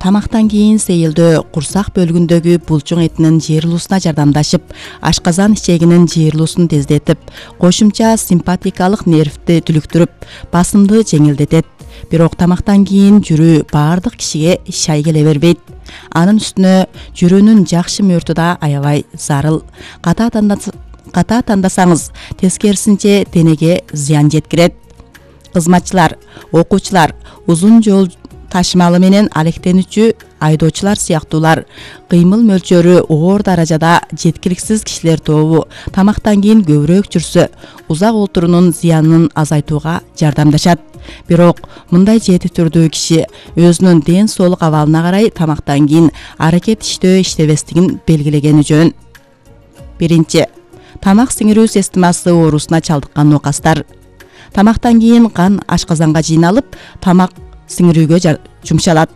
Тамактан кийин сейилдөө курсак бөлүгүндөгү булчуң этинин жыйырылуусуна жардамдашып, ашказан ичегинин жыйырылуусун тездетип, кошумча симпатикалык нервти түлүктүрүп, басымды жеңилдетет. Бирок тамактан кийин жүрүү баардык кишиге шай келе бербейт. Анын үстүнө жүрүүнүн жакшы мөөртү да аябай зарыл. Ката тандасаңыз, тескерисинче денеге зыян жеткирет. Кызматчылар, окуучулар, узун жол ташымалы менен алектенүүчү айдоочулар сыяктуулар кыймыл мөлчөрү оор даражада жеткиликсиз кишилер тобу тамактан кийин көбүрөөк жүрсө, узак отуруунун зыянын азайтууга жардамдашат. Бирок мындай жети түрдүү киши өзүнүн ден соолук абалына карай тамактан кийин аракет иштебестигин белгилегени жөн. Биринчи, тамак сиңирүү системасы оорусуна чалдыккан нокастар. Тамактан кийин кан ашказанга жыйналып, тамак сиңирүүгө жумшалат.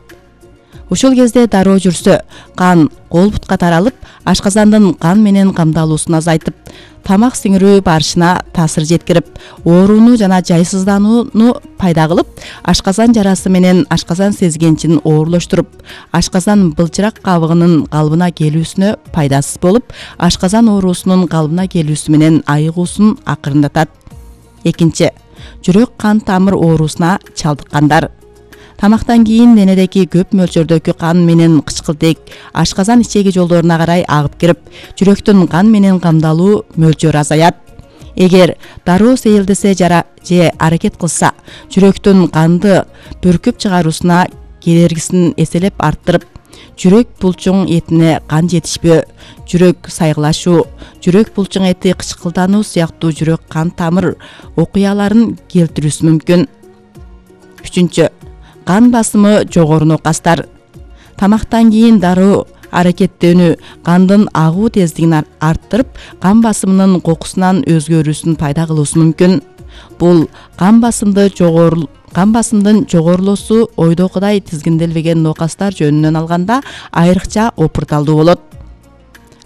Ушул кезде дароо жүрсө, кан кол бутка таралып, ашказандын кан менен камдалуусун азайтып, тамак сиңирүү барышына таасир жеткирип, ооруну жана жайсызданууну пайда кылып, ашказан жарасы менен ашказан сезгенчин оорлоштуруп, ашказан былчырак кабыгынын калыбына келүүсүнө пайдасыз болуп, ашказан оорусунун калыбына келүүсү менен айыгуусун акырындатат. Экинчи, жүрөк кан тамыр оорусуна чалдыккандар. Тамактан кийин денедеги көп мөлчөрдөгү кан менен кычкылтек ашказан ичеги жолдоруна карай агып кирип, жүрөктүн кан менен камдалуу мөлчөрү азаят. Эгер дароо сейилдесе же аракет кылса, жүрөктүн канды бүркүп чыгаруусуна кедергисин эселеп арттырып, жүрөк булчуң этине кан жетишпөө, жүрөк сайгылашуу, жүрөк булчуң эти кычкылдануу сыяктуу жүрөк кан тамыр окуяларын келтирүүсү мүмкүн. Үчүнчү, кан басымы жогору нокастар. Тамактан кийин дароо аракеттенүү кандын агуу тездигин арттырып, кан басымынын кокусунан өзгөрүүсүн пайда кылуусу мүмкүн. Бул кан басымдын жогорулоосу ойдогудай тизгинделбеген нокастар жөнүнөн алганда айрыкча опурталдуу болот.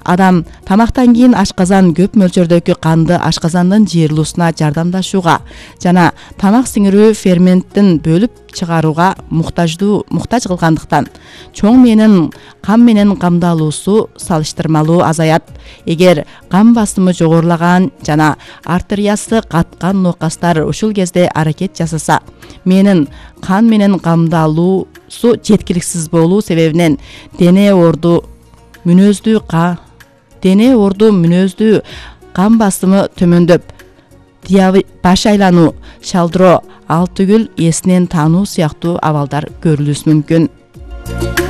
Адам тамактан кийин ашказан көп мөлчөрдөгү канды ашказандын жыйырылуусуна жардамдашууга жана тамак сиңирүү ферменттин бөлүп чыгарууга муктаж кылгандыктан чоң мээнин кан менен камдалуусу салыштырмалуу азаят. Эгер кан басымы жогорулаган жана артериясы каткан нокастар ушул кезде аракет жасаса, мээнин кан менен камдалуусу жеткиликсиз болуу себебинен дене орду мүнөздүү кан басымы төмөндөп, баш айлануу, шалдыроо, ал түгүл эсинен таануу сыяктуу абалдар көрүлүшү мүмкүн.